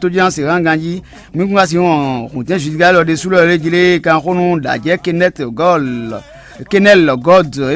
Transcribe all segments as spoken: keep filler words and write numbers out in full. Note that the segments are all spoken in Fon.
tójánse hán ganjí. Mi kún ka si wɔn hǔntɛn Judika élɔ́ ɖésú lɔ lé jí lé kan xó nú ɖǎjɛ Kenɛt Gɔl Kenɛl Gɔd é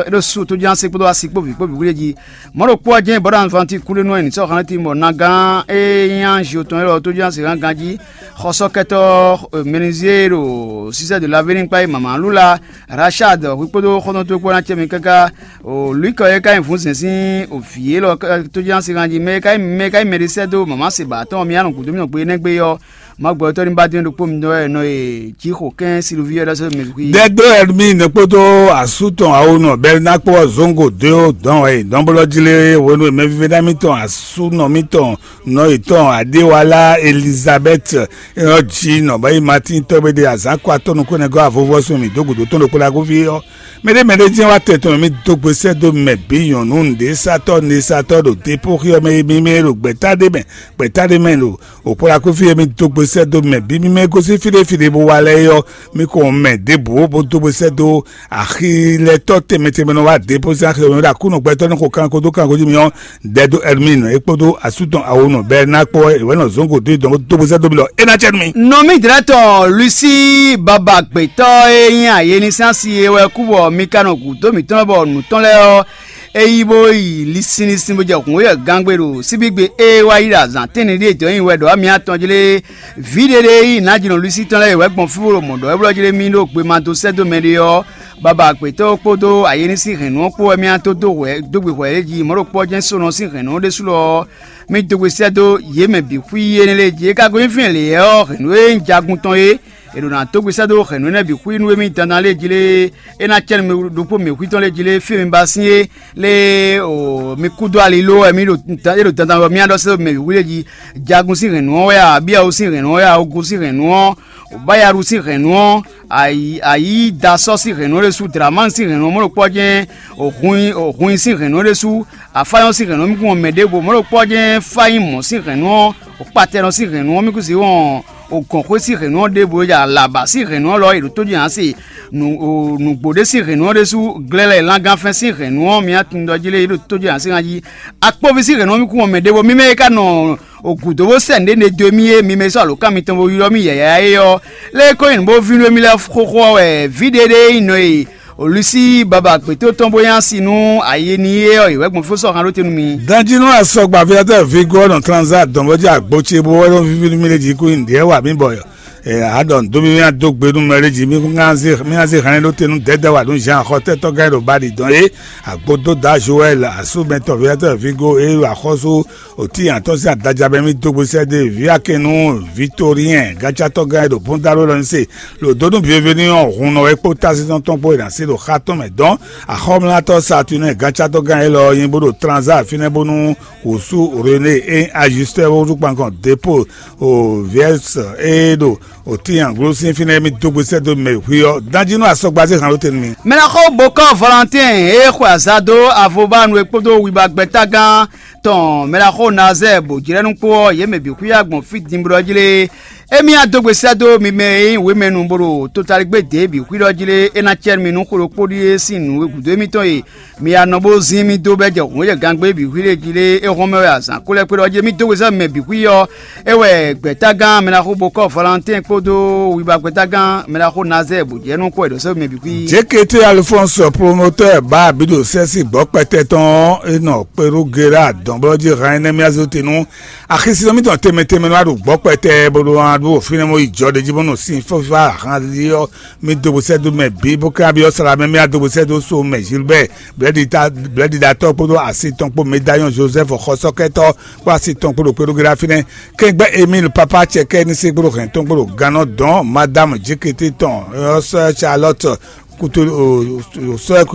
ɖo su tójánse kpódó asi kpó vǐ kpó bǐ wlé jí. Mɔ̌ ɖokpó ɔ́ jɛ́n Bɔ̌ ɖo Anvanti kúɖénú ɛ nǐ sɔ́ hán lɛ́ tín bɔ Nagan e nyí anji tɔn élɔ́ tójánse hán ganjí. Xɔsɔ́kɛtɔ́ Menizie ɖo Sizɛ́ɛ de Lavéní kpá yi mama Lula Rachad hwi kpódó xɔ́ntɔn towe kpó ná cɛ mi káká. Lwǐkɔ e ka nyí vǔnzɛn sín vǐ élɔ́ tójínásíhan jí mɛ e ka nyí mɛ e ka nyí mɛɖé sɛ́ dó mama se ba atɔ́ɔn mi anɔ gǔdo mì nɔ gbe énɛ́ gbe ɔ́, Mawu gbɛtɔ́ ní ba dó ɖokpó mi dó wɛ nɔ e Jǐxo kɛ́n Silvíɔ ɖɔ sɛ́ dó mɛ vǐ. Dɛdó Ɛrmín kpódó asú tɔn awo nɔ Bɛrnákpɔ́ zɔ́ngo dó dɔn wɛ dɔnblɔ́ jlé hwenu e mɛvívɛ́ná mǐtɔn asúnɔ mǐtɔn nɔ yětɔn Adéwalá Elizabɛ́t e nɔ ji nɔ bɔ é nyí Matín tɔ́gbé ɖe azǎn kɔ atɔ́ nukúnnɛgɔ́ avɔvɔ́ sun mǐ dó gǔdo tɔn ɖokpó ɖaxó fí ɔ́, mɛɖé mɛɖé jɛ́n wá tɛn tɔn mì dó gbe sɛ́ dó mɛ bǐ nyɔ̌nu nǔɖésátɔ́ nǔɖésátɔ́ ɖo depóxi ɔ́ mɛ e mimɛ ɖo gbɛ̌ta ɖé mɛ gbɛ̌ta ɖé mɛ ɖo òkpó ɖaxó fí e mì dó gbe sɛ́ dó mɛ bǐ mimɛ e gosín fí ɖé fí ɖé bó wá lɛ́ɛ é ɔ́, mì ko mɛ ɖěbǔ bó dó gbe sɛ́ dó axilɛtɔ́ tɛnmɛ tɛnmɛ nɔ wá depóxi axi ɔ́ ɖo Aklúnɔ gbɛtɔ́ nɔ xo kanko dó kanko jí mì ɔ́, Dɛdó Ɛrmín é kpódó asú tɔn Awonɔ Bɛrná kpó é wɛ nɔ zɔ̌n gǒ dó dɔn dó bó sɛ́ dó mi ɖɔ é ná cɛ nú mi. Nɔ mì jlɛ́ tɔn Lusi baba gbětɔ́ e nyí ayénísási é wɛ kú bɔ mi ka nɔ gǔdo mǐtɔn bɔ nǔ tɔn lɛ́ɛ ɔ́, é yí bó yi lisinlisin bó jɛ hǔn yɛ gangbe ɖo síbígbe e wá yi ɖo azǎn tɛ́nni ɖíe dɔ̌ nyi wɛ ɖɔ amyá tɔn jlé. Vǐ ɖé ɖé yi nǎjínɔ Lusi tɔn lɛ́ɛ wɛ gbɔn fí bó ɖo mɔ̌ ɖɔ é blɔ́ jlé mì ɖo gbema dó sɛ́ dó mɛ ɖé ɔ́, baba gbětɔ́ kpódó ayénísí hɛ̌nnu ɔ́ kpó wɛ mì dó dó hwɛ dó gbe hwɛ é jí mɔ̌ ɖo kpɔ́ jɛ́n sónɔ sín hɛ̌nnu ɔ́ ɖésú lɔ ɔ́, mì dó gbe sɛ́ dó yě mɛ bǐ xwí énɛ́ lɛ́ɛ jí. É ka gosín fínɛ́ lě ɔ́, hɛ̌nnu e nyí jagun tɔn é, è ɖo ná dó gbe sɛ́ dó hɛ̌nnu énɛ́ bǐ xwí nú émí dandan lɛ́ɛ jí lé, é ná cɛ́ nú mi ɖokpó mǐ xwítɔn lɛ́ɛ jí lé, fí e mi ba sín é lé, o mi kú dó ali ló wɛ mì ɖo é ɖo dandan wɛ mì ɖɔ sɛ́ dó mɛ bǐ xwí lɛ́ɛ jí. Jagun sín hɛ̌nnu ɔ́ wɛ a, abíyawu sín hɛ̌nnu ɔ́ wɛ a, ogun sín hɛ̌nnu ɔ́, Bayaɖu sín hɛ̌nnu ɔ́, ayǐ ayǐ da sɔ́ sín hɛ̌nnu ɔ́ ɖésú, Dlamán sín hɛ̌nnu ɔ́ mɔ̌ ɖo kpɔ́ jɛ́n, Hun sín hɛ̌nnu ɔ́ ɖésú, Afáyɔ́n sín hɛ̌nnu ɔ́ mì kún wɔn mɛ ɖěvo, mɔ̌ ɖo kpɔ́ jɛ́n Fáyín mɔ̌ sín hɛ̌nnu ɔ́, Kpatɛnɔ sín hɛ̌nnu ɔ́ mì kún sixú wɔn, Gɔ̌nxwé sín hɛ̌nnu ɔ́ ɖěvo e jɛ Alaba sín hɛ̌nnu ɔ́ lɔ é ɖo tójí ǎ se. Nǔgbó ɖé sín hɛ̌nnu ɔ́ ɖésú, Glɛ́lɛ Langanfɛ́n sín hɛ̌nnu ɔ́, mi tunwun ɖɔ jí lé é ɖo tójí ǎ sín jí. Akpɔ́ví sín hɛ̌nnu ɔ́ mì kún wɔn mɛ ɖěvo, mímɛ́ e ka nɔ gǔdo bó sɛ́ nǔɖé ɖe dó mì é, mi mɛ e sɔ́ alǒkan mitɔn bó ylɔ́ mì yɛ̌yɛ́ é ɔ́, lě e ko nyí nǔ bó vínú émí lɛ́ɛ xóxó ɔ́ wɛ vǐ ɖé ɖé nyí nɔ e Lusi baba gbětɔ́ tɔn bó nyí asi nú ayi ní é ɔ́, è wɛ̌ gbɔn fó sɔ́ han ɖó te nú mi. Danjínú asɔgba aviatɔ́ Vigo ɔ́ nɔ Transa dɔn bó jɛ agbo ce bó wɛ nɔ víví nú mì lé jí kú nyi nǔɖé wɛ amǐ bɔ a ɖɔ nǔ dó mì mì adó gbe nú mɛ lé jí mì kún ŋá zé mì ŋá zé hɛn ɖó te nú dɛ̌dɛ́ wa nú Jean xɔtɛ́tɔ́ gán e ɖo Bali dɔn é. Agbodóda Joɛl asúmɛtɔ́ aviatɔ́ Vigo e ɖo axɔ́sú Òtín atɔ́ sín adaja mɛ mì dó gbe sɛ́ dó vǐ Akɛnnu Vitoryɛn, gancátɔ́ gán e ɖo Bondalo lɔ ní se, ɖo dó nú bieveni ɔ́ hun nɔ wɛ kpó tásítɔ́ tɔn kpó e ná se ɖo xá tɔn mɛ dɔn. Axɔ́mlátɔ́ Satunɛ́ɛ, gancátɔ́ gán élɔ́ ɔ́ nyi bó ɖo Tranza fínɛ́ bónú wǔsú René e ajustɛ́ wútu kpankɔn Depo o Viɛs e ɖo Òtín glosín fínɛ́ mì dó gbe sɛ́ dó mɛ hwi ɔ́, danjínú asɔgbazé han ló te nú mi. Mɛɖaxó Bokɔ Valentin e xwe azado avobánu e kpódó wiba gbɛ́tágán tɔn mɛɖaxó Nazɛ́ɛ bǒ jlɛ́ nú kpó ɔ́, yě mɛ bǐ xwíá gbɔn fí dinblo ɔ́ jlé. Émí á dó gbe sɛ́ dó mi mɛ e nyí wěmɛnu bó ɖo totaligbé dě bǐ xwíɖɔ jlé, é ná cɛ́ nú mi nú xó ɖokpó ɖíe sín nǔ e gǔdo émítɔn e mi ya nɔ bó zín mì dó bɛ́ jɛ hǔn e jɛ gangbé bǐ xwí ɖé jí lé é hɔn mɛ wɛ azǎn kó lɛ́ kpé ɖɔ jí mì dó gbe sɛ́ mɛ bǐ xwí ɔ́, é wɛ gbɛ̌tágán mɛɖaxó Bokɔ Valentin kpódó wiba gbɛ́tágán mɛɖaxó Nazɛ́ɛ bǒ jɛ nú kpɔ́ è ɖǒ sɛ́ mɛ bǐ xwí. Jékété Alphonse, promotɛ́ɛ bǎ bǐ ɖo sɛ́sí gbɔ̌ kpɛtɛ tɔn ɔ́, é nɔ Perugera dɔ̌nblɔ́ jí hɛn énɛ́ mì azé te nú axisínɔ mítɔn tɛnmɛ tɛnmɛ nɔ wá ɖo gbɔ̌ kpɛtɛ bó ɖó wá ɖó fínɛ́ mɔ yi jɔ ɖe jí bó nɔ sin fífá ahan ɔ́. Mì dó bó sɛ́ dó mɛ bǐ bó ká byɔ́ Salamɛ mì adó bó sɛ́ dó so mɛ Gilbert blɛ́ɖiɖatɔ́ kpódó asi tɔn kpó Medayɔn Joseph xɔsɔ́kɛtɔ́ kpó asi tɔn kpó ɖo kpéɖógéɖá fínɛ́. Kɛngbɛ́ Emil Papa Cɛkɛ́ ní se kpó ɖo hɛn tɔn kpó ɖo gannɔ dɔn Madame Jekete tɔn sɔ́ Charlotte kutu sɔ́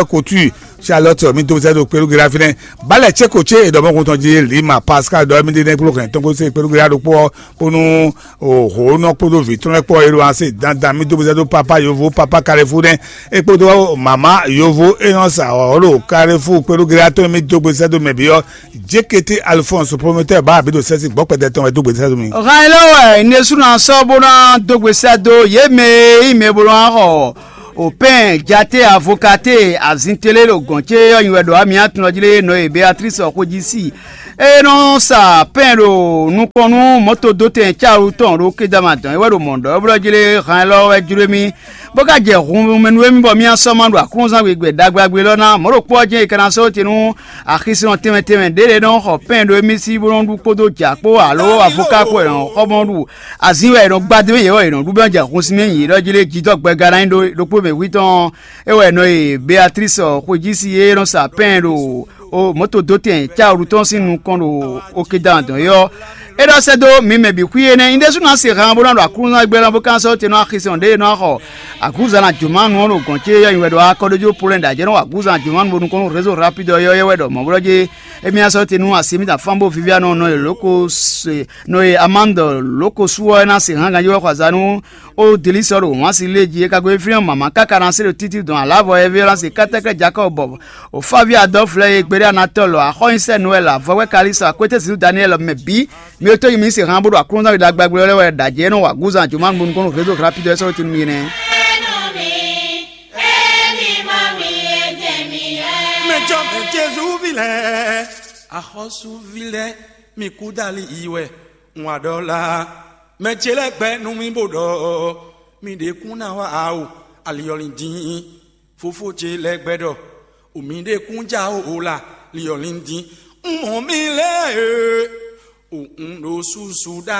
kutu Charlotte mì dó sɛ́ ɖo kpéɖógéɖá fínɛ́. Balɛ cé ko cé è ɖɔ mɔkun tɔn jí Lima Pascal ɖɔ mì ɖe nɛ́ kpló hɛn tɔn kó se kpéɖógéɖá ɖokpó ɔ́, bónú hǒnɔ kpódó vǐ tɔn lɛ́ɛ kpó ɔ́, é ɖo asi dandan mì dó sɛ́ ɖó papa yovo papa Kalefu nɛ́, é kpódó mama yovo é nɔ sa ɔ́ ɖo Kalefu kpéɖógéɖá tɔn mì dó gbe sɛ́ dó mɛ bǐ ɔ́, Jékété Alphonse, promotɛ́ɛ bǎ abǐ ɖo sɛ́sí gbɔ̌ kpɛtɛ tɔn wɛ dó gbe sɛ́ dó mi. Hɛn élɔ́ wɛ un ɖésú ná sɔ́ bó ná dó gbe sɛ́ dó yě mɛ e nyí mɛ bó ná xɔ O pɛn jate avokate azintele ɖo gɔn ce ɔ́ nyi wɛ ɖo amyatun ɔ́ jí lé nɔ e Beatrice xwejisi e nɔ sa pɛn ɖo nukɔn nú mɔto dó tɛn cawu tɔn ɖo kedama dɔn é wɛ ɖo mɔ̌ ɖɔ é blɔ́ jí lé han élɔ́ wɛ jló mì bó ka jɛ hun mɛ nú émí bɔ mì sɔ́ ma ɖo aklúnzán gbe ɖagbe ɖagbe élɔ́ ná mɔ̌ ɖokpó ɔ́ jɛ́n è ka ná sɔ́ te nú axisínɔ tɛnmɛ tɛnmɛ ɖě lě nɔ xɔ pɛn ɖo émí sí bó nɔ ɖu kpódó jǎ kpó alo avoká kpó è nɔ xɔ bó nɔ ɖu azin wɛ è nɔ gbadé mɛ yě wɛ è nɔ ɖu bɛ́ jɛ hun sín mɛ nyǐ ɖɔ jí lé jidɔ́ gbɛga ná nyí ɖó ɖokpó mɛ hwí tɔn é wɛ è nɔ e Beatrice xwejisi e nɔ sa pɛn ɖo o mɔto dó tɛn cáwǔɖu tɔn sín nukɔn ɖo okedan dɔn é ɔ́ é ɖɔ sɛ́ dó mi mɛ bǐ xwí énɛ́. Nyí ɖésú ná se han bó ná ɖo aklúnɔ́ gbɛ́ ná bó ka sɔ́ te nɔ axisɛn ɖě e nɔ xɔ agǔza ná jǒmánu ɔ́ ɖo gɔ̌n ce yɔ́ nyi wɛ ɖɔ akɔ́ɖójú polɛ́ ɖo ajɛ̌ nɔ wa agǔza ná jǒmánu bónú kɔn nú rézo rápídɔ yɔ́ yɔ́ wɛ ɖɔ mɔ̌ blɔ́ jé émí ná sɔ́ te nú asi émítɔn afán bó Vivianu nɔ e lǒko se nɔ e Amande lǒko sú ɔ́ é ná se hán ganjí wɛ xɔ azǎn nú ó dilí sɔ́ ɖo wǎn si lé jí é ka gosín fínɛ́ mama káká ná se ɖo títí dɔn alǎvɔ Ɛvélánsi kɛ́tɛ́kɛ́ Jakɔ́ɔ bɔ Ofaví Adɔ́fu lɛ́ɛ e gbeɖé Anatɔ́lu axɔ́nyinsɛ́nú wɛ lɛ avɔwɛ Kalixɔ akwétɛ́ zǐnú Daniɛ́li mɛ bǐ. Mi e tónyi mi se han bó ɖo aklúnɔ́ wi ɖagbagblo lɛ́ɛ wɛ ɖo ajě e nɔ wa gǔzan jǒmánu nukɔn nú rézo rapídɔ é sɔ́ tɛ́nú mi nɛ́. Mɛ jɔ mɛ Jezu vi lɛ́ɛ, axɔ́súví lɛ́ɛ, mi kú dali yi wɛ, un wa ɖɔ la. Mɛ ce lɛ́ɛ gbɛ nú mì bó ɖɔ, mi ɖě kún ná wá o, ali ɔ́ lin dín. Fofó ce lɛ́ɛ gbɛ ɖɔ, o mi ɖě kún já o la, li ɔ́ lin dín. Un mɔ mi lɛ́ɛ e, o un ɖo susu ɖa